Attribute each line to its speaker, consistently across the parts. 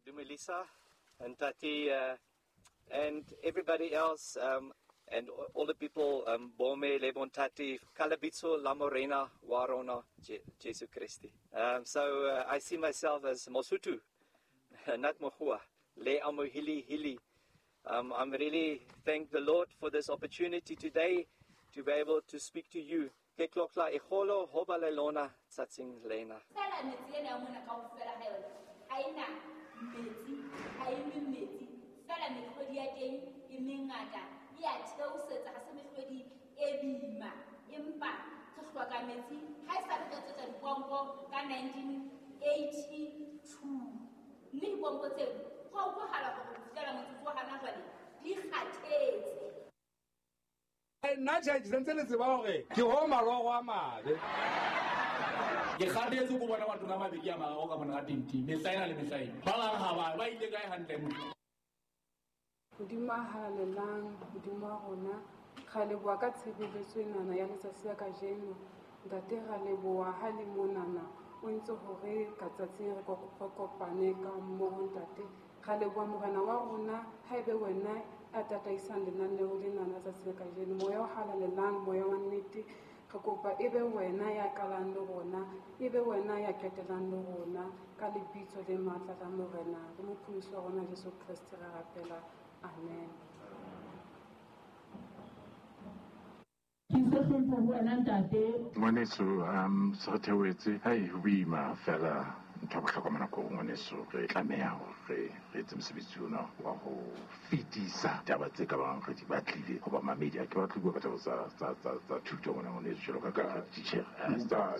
Speaker 1: Dumilisa and Tati and everybody else and all the people, Bome, Lebon Tati, Kalabitso, Lamorena, Warona, Jesu Christi. So I see myself as Mosutu, not Mohua, Le Amohili Hili. I'm really thank the Lord for this opportunity today to be able to speak to you. Ke tlotla e kgolo ho ba le lona tsatsing lena.
Speaker 2: Fela metsi ena ya mona kaofela ha yona ha ena metsi, ha e nwe metsi. Fela mehlodi ya teng e mengata, e a theosetsa, ha se mehlodi e boima. Empa re hloka metsi ha e sa re etsetsa dipompo ka 1982. Mme dipompo tseo ho a utlwahala hore ho fihlela motsotso wa hana jwale di kgathetse.
Speaker 3: Nna tjhe, ke sentse le tseba hore ke ho maloro a mabe.
Speaker 4: Ke kgathetse ko bona batho ka mabedi a mararo ka mona ka twenty, mehla ena le mehla ena. Ba bang ha ba, ba ile kae hantle motho?
Speaker 5: Modimo a halalelang, Modimo wa rona, ra leboha ka tshebeletso enana ya letsatsi la kajeno. Ntate, ra leboha ha le monana o entse hore ka tsatsing re kopane ka mmoho, ntate. Ra leboha Morena wa rona, ha ebe wena a tataisang lenaneo lena la tsatsi la kajeno. Moya o halalelang, moya wa nnete, re kopa ebe wena ya qalang le rona, ebe wena ya qetellang le rona, ka lebitso le matla la Morena le Mopholosi wa rona Jesu Kreste re rapela. Amen.
Speaker 6: Ke se hlompho ho wena ntate.
Speaker 7: Ngwaneso, se re theohetse, hai ho boima fela ntho ya bohlokwa mona ko ngwaneso, re tlameha hore re etse mosebetsi ona wa ho fetisa taba tse ka bang re di batlile ho bamamedi. Ha ke batle ho bua ka taba tsa thuto mona ngwaneso, jwalo ka ka teacher.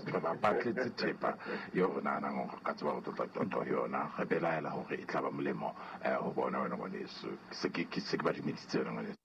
Speaker 7: Re ba batletse thepa eo re nahanang hore re ka tseba ho tlotla qoqo ho yona, re belaela hore e tla ba molemo ho bona wena ngwaneso. Se ke ba dumedisitse wena ngwaneso.